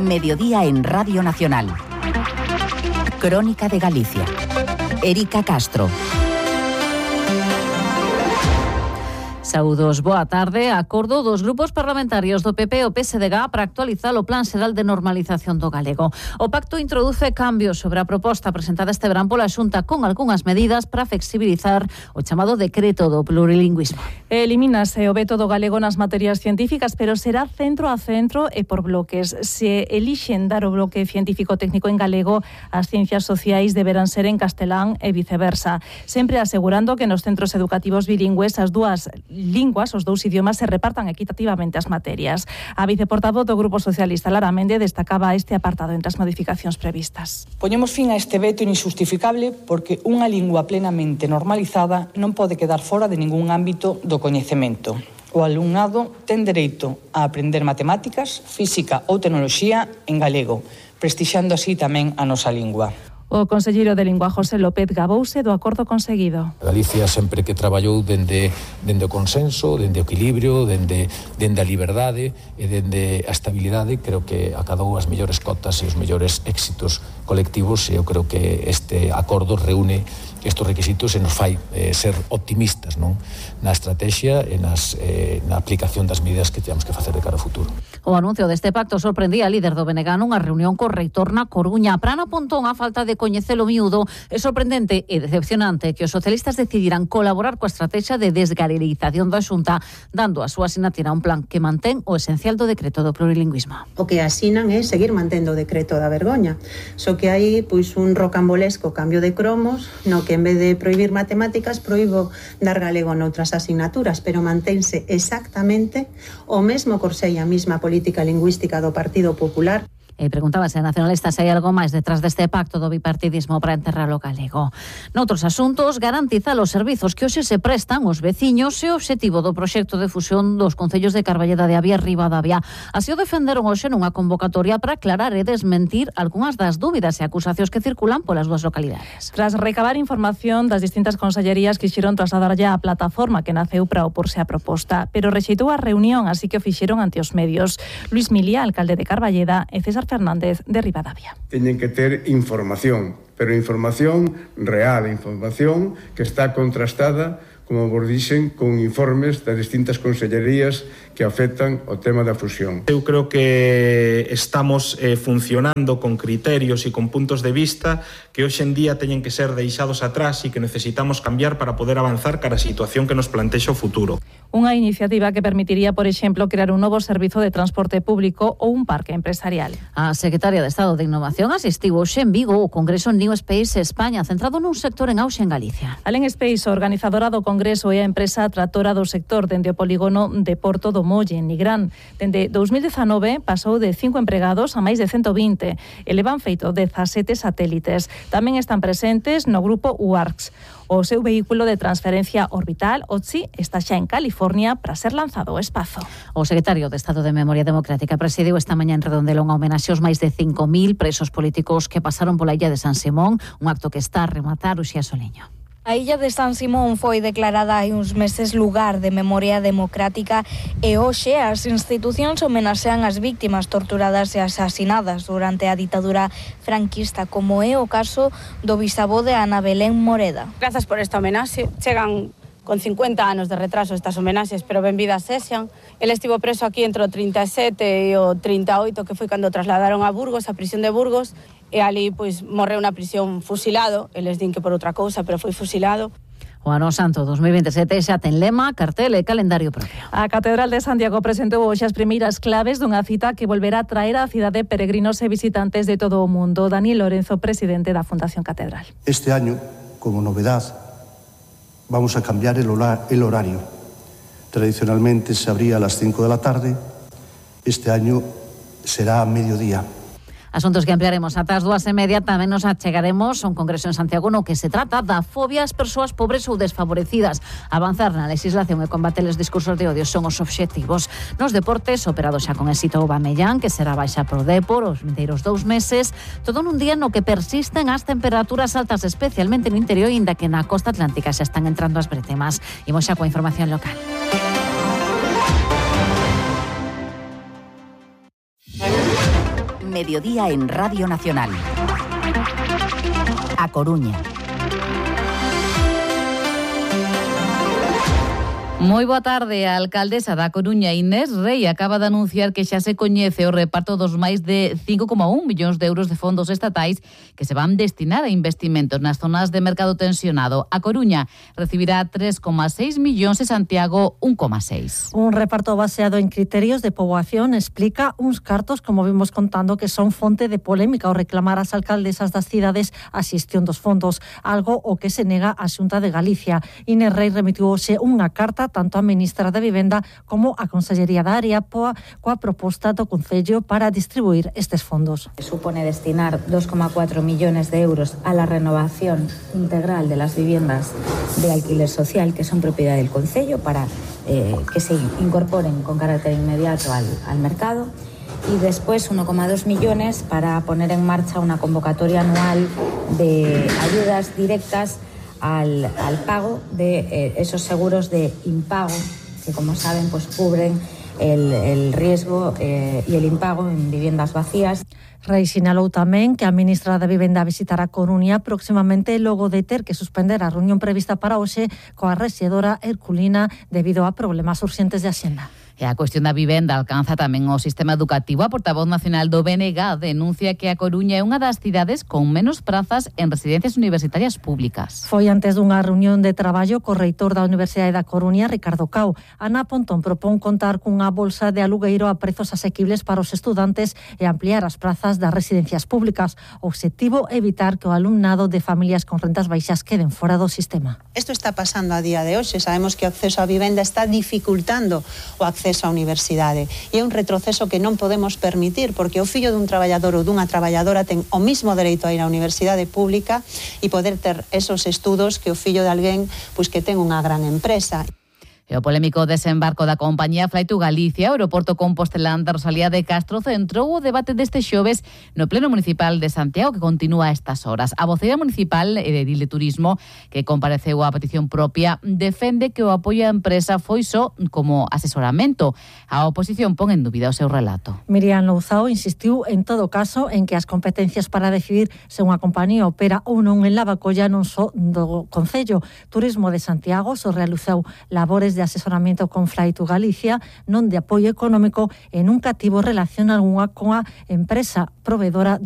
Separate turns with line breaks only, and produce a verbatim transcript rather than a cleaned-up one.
Mediodía en Radio Nacional. Crónica de Galicia. Erika Castro. Saúdos, boa tarde. Acordo dos grupos parlamentarios do P P e o P S D G para actualizar o Plan Xeral de Normalización do Galego. O pacto introduce cambios sobre a proposta presentada este verán pola Xunta con algunhas medidas para flexibilizar o chamado decreto do plurilingüismo.
Elimínase o veto do galego nas materias científicas, pero será centro a centro e por bloques. Se elixen dar o bloque científico técnico en galego, as ciencias sociais deberán ser en castelán e viceversa, sempre asegurando que nos centros educativos bilingües as dúas linguas, os dous idiomas, se repartan equitativamente as materias. A viceportavoz do Grupo Socialista, Lara Mende, destacaba este apartado entre as modificacións previstas.
Poñemos fin a este veto injustificable porque unha lingua plenamente normalizada non pode quedar fora de ningún ámbito do coñecemento. O alumnado ten dereito a aprender matemáticas, física ou tecnoloxía en galego, prestixiando así tamén a nosa lingua.
O conselleiro de Lingua, José López, gabouse do acordo conseguido.
Galicia sempre que traballou dende, dende o consenso, dende o equilibrio, dende, dende a liberdade e dende a estabilidade, creo que acadou as mellores cotas e os mellores éxitos colectivos, e eu creo que este acordo reúne estes requisitos e nos fai eh, ser optimistas, non, na estrategia e nas, eh, na aplicación das medidas que temos que facer de cara ao futuro.
O anuncio deste pacto sorprendía a líder do B N G nunha reunión co reitor na Coruña. Prana Pontón, a falta de coñecelo miúdo, é sorprendente e decepcionante que os socialistas decidiran colaborar coa estrategia de desgarelización da Xunta, dando a súa asinatira un plan que mantén o esencial do decreto do plurilingüismo.
O que asinan é seguir mantendo o decreto da vergoña, só que hai pois un rocambolesco cambio de cromos, no que en vez de prohibir matemáticas, proíbo dar galego noutras asignaturas, pero mantense exactamente o mesmo corsé e a mesma política lingüística do Partido Popular.
E preguntábase a nacionalista se hai algo máis detrás deste pacto do bipartidismo para enterrar o galego. Noutros asuntos, garantizar os servizos que hoxe se prestan os veciños e o obxectivo do proxecto de fusión dos concellos de Carballeda de Avia e Ribadavia. Así o defenderon hoxe nunha convocatoria para aclarar e desmentir algunhas das dúbidas e acusacións que circulan polas dúas localidades.
Tras recabar información das distintas consellerías, quixeron trasladarlle a plataforma que naceu para oporse á proposta, pero rexeitou a reunión, así que o fixeron ante os medios. Luis Milía, alcalde de Carballeda, e César Fernández de Ribadavia.
Teñen que ter información, pero información real, información que está contrastada, como vos dixen, con informes das distintas consellerías que afectan o tema da fusión.
Eu creo que estamos eh, funcionando con criterios e con puntos de vista que hoxe en día teñen que ser deixados atrás e que necesitamos cambiar para poder avanzar cara a situación que nos plantexa o futuro.
Unha iniciativa que permitiría, por exemplo, crear un novo servizo de transporte público ou un parque empresarial.
A secretaria de Estado de Innovación asistiu hoxe en Vigo ao Congreso New Space España, centrado nun sector en auxe en Galicia.
Alén Space, organizadora do Congreso, é a empresa tratora do sector dende o polígono de Porto do Molle, en Nigrán. Dende dous mil dezanove pasou de cinco empregados a máis de cento vinte e levan feito dezasete satélites. Tamén están presentes no grupo U A R C S. O seu vehículo de transferencia orbital, O T S I, está xa en California para ser lanzado ao espazo.
O secretario de Estado de Memoria Democrática presidiu esta mañá en Redondela unha homenaxe aos máis de cinco mil presos políticos que pasaron pola illa de San Simón, un acto que está a rematar o Xia Soliño.
A illa de San Simón foi declarada hai uns meses lugar de memoria democrática e hoxe as institucións homenaxean as víctimas torturadas e asasinadas durante a ditadura franquista, como é o caso do bisavó de Ana Belén Moreda.
Grazas por esta homenaxe. Chegan con cincuenta anos de retraso estas homenaxes, pero benvidas sexan. El estivo preso aquí entre o trinta e sete e o trinta e oito, que foi cando trasladaron a Burgos, a prisión de Burgos, e ali pois morreu na prisión fusilado. Eles din que por outra cousa, pero foi fusilado.
O Ano Santo dos mil veintisiete xa ten lema, cartel e calendario propio.
A Catedral de Santiago presentou hoxe as primeiras claves dunha cita que volverá a traer á cidade peregrinos e visitantes de todo o mundo. Daniel Lorenzo, presidente da Fundación Catedral.
Este año, como novedad, vamos a cambiar el horario. Tradicionalmente se abría a las cinco de la tarde, este año será a mediodía.
Asuntos que ampliaremos ata as dúas e media. Tamén nos achegaremos a un congreso en Santiago no que se trata da fobia ás persoas pobres ou desfavorecidas. Avanzar na legislación e combater os discursos de odio son os obxectivos. Nos deportes, operado xa con éxito o Aubameyang, que será baixa pro Depor os vindeiros dous meses, todo nun día no que persisten as temperaturas altas, especialmente no interior, inda que na costa atlántica xa están entrando as bretemas. Imos xa coa información local.
mediodía en Radio Nacional. A Coruña.
Moi boa tarde. A alcaldesa da Coruña, Inés Rei, acaba de anunciar que xa se coñece o reparto dos máis de cinco coma un millóns de euros de fondos estatais que se van destinar a investimentos nas zonas de mercado tensionado. A Coruña recibirá tres coma seis millóns e Santiago un coma seis.
Un reparto baseado en criterios de poboación explica uns cartos, como vimos contando, que son fonte de polémica ao reclamar as alcaldesas das cidades a xestión dos fondos, algo o que se nega a Xunta de Galicia. Inés Rei remitiu hoxe unha carta tanto a ministra da Vivenda como a Consellería da Área poa, coa proposta do Concello para distribuir estes fondos.
Supone destinar dos coma cuatro millones de euros a la renovación integral de las viviendas de alquiler social que son propiedad del Concello para eh, que se incorporen con carácter inmediato al, al mercado. Y después uno coma dos millones para poner en marcha una convocatoria anual de ayudas directas Al, al pago de eh, esos seguros de impago que, como saben, pues cubren el, el riesgo eh, y el impago en viviendas vacías.
Rei sinalou tamén que a ministra da Vivenda visitará Coruña próximamente logo de ter que suspender a reunión prevista para hoxe coa rexedora Herculina debido a problemas urxentes de axenda.
E a cuestión da vivenda alcanza tamén o sistema educativo. A portavoz nacional do B N G denuncia que a Coruña é unha das cidades con menos prazas en residencias universitarias públicas.
Foi antes dunha reunión de traballo co reitor da Universidade da Coruña, Ricardo Cao. Ana Pontón propón contar cunha bolsa de alugueiro a prezos asequibles para os estudantes e ampliar as prazas das residencias públicas. O obxectivo é evitar que o alumnado de familias con rentas baixas queden fora do sistema.
Isto está pasando a día de hoxe. Sabemos que o acceso á vivenda está dificultando o acceso á universidade. E é un retroceso que non podemos permitir, porque o fillo dun traballador ou dunha traballadora ten o mismo dereito a ir á universidade pública e poder ter esos estudos que o fillo de alguén pois que ten unha gran empresa.
E o polémico desembarco da compañía Fly to Galicia, o aeroporto compostelán da Rosalía de Castro, centrou o debate deste xoves no Pleno Municipal de Santiago, que continúa a estas horas. A voceira municipal e de Edil de Turismo, que compareceu á petición propia, defende que o apoio á empresa foi só como asesoramento. A oposición pon en dúbida o seu relato.
Miriam Louzao insistiu en todo caso en que as competencias para decidir se unha compañía opera ou non en Lavacolla non só do Concello. Turismo de Santiago só realizou labores de de asesoramento con Fly to Galicia, non de apoio económico e nunca tivo relación algunha coa empresa provedora do